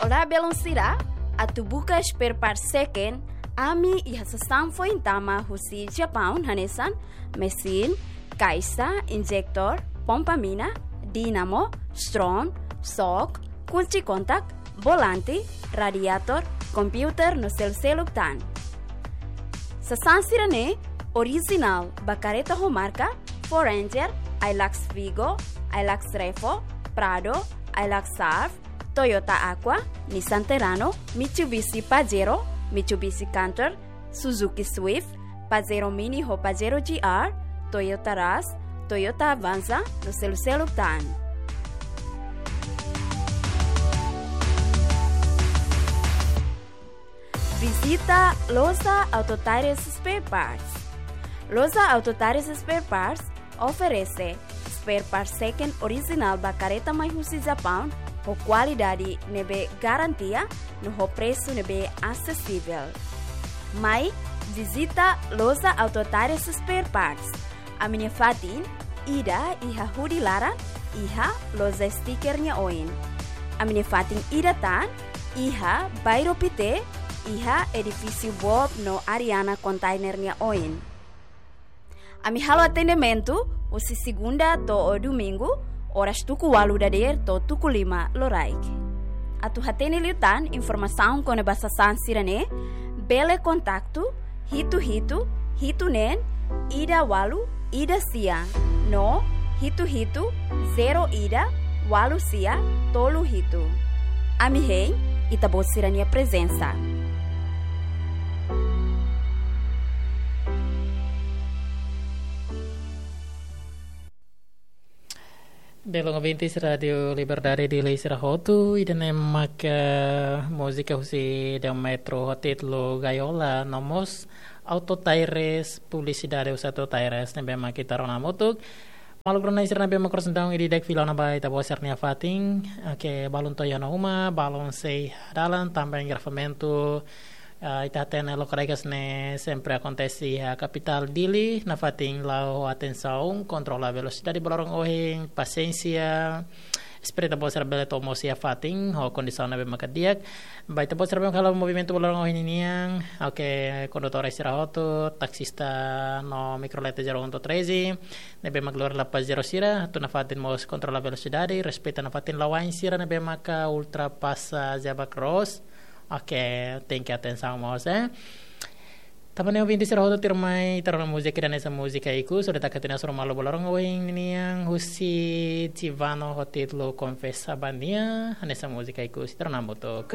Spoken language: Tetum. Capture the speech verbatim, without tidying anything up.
Olá, belun sira, atu buka spare part seken, ami iha sasán foin tama husi Japaun hanesan mesin, kaixa, injektór, pompa mina, dínamo, stron, xok, kunci kontak, volante, radiatór, komputadór no selu-seluk tan. Sasán sira-ne'e orijinál ba kareta ho marka Ford Ranger, Hilux Vigo, Hilux Revo, Prado, Hilux Surf, Toyota Aqua, Nissan Terrano, Mitsubishi Pajero, Mitsubishi Canter, Suzuki Swift, Pajero Mini ho Pajero G R, Toyota Rush, Toyota Avanza no selu-seluk tan. Vizita Loja Auto Tires Spare Parts. Loja Auto Tires Spare Parts oferese spare part seken orijinál ba kareta mai husi Japaun ho kualidade ne'ebé garantia no ho presu ne'ebé asesivel. Mai vizita Loja Auto Tires Spare Parts. Ami-nia fatin ida iha hudi laran, iha loja stiker nia oin. Ami-nia fatin ida tan iha Bairro Pité, iha edifísiu Bob no Ariana Container nia oin. Ami halo atendimentu husi segunda to'o domingu, oras tuku ualu dadeer to'o tuku lima loraik. Atu hatene liután informasaun kona-ba sasán sira-ne'e, bele kontaktu hitu hitu, hitu neen, ida ualu, ida sia, no hitu hitu, zero ida, ualu sia, tolu hitu. Ami hein Ita-Boot sira-nia prezensa. Belun ouvintes Rádio Liberdade Dili sira hotu, ida-ne'e maka múzika husi Deo Metro ho títulu Gaiola, no mós Auto Tires, publisidade husi Auto Tires ne'ebé mak ita rona hamutuk. Maluk rona sira ne'ebé mak cross down ida-idak fila ona ba Ita-Boot sira-nia fatin, oke, balun to'o iha ona uma, balun sei iha dalan, tanba engarrafamentu, ah, ita hatene loke-regas ne'e sempre akontese iha kapitál Dili, nafatin la'o ho atensaun, kontrola velosidade ba loron ohin, pasiénsia, espera Ita-Boot sira bele to'o mós iha fatin ho kondisaun ne'ebé maka di'ak. Ba Ita-Boot sira ne'ebé halo movimentu ba loron ohin ninian, oke, kondutór sira hotu, taksista no mikrolet zero um to'o treze, ne'ebé mak lori La Paz zero sira, atu nafatin mós kontrola velosidade, respeita nafatin la'o ain sira ne'ebé maka ultrapasa zebra cross. Oke, tenke atensaun mós, eh. Tanba ne'e ouvinte sira hotu, tuirmai ita rona múzika ida hanesan múzika ikus, hodi taka tiha ona sira malu ba loron ohin ninian husi Tivano ho títulu Konfesa ba Nia, hanesan múzika ikus, ita rona hamutuk.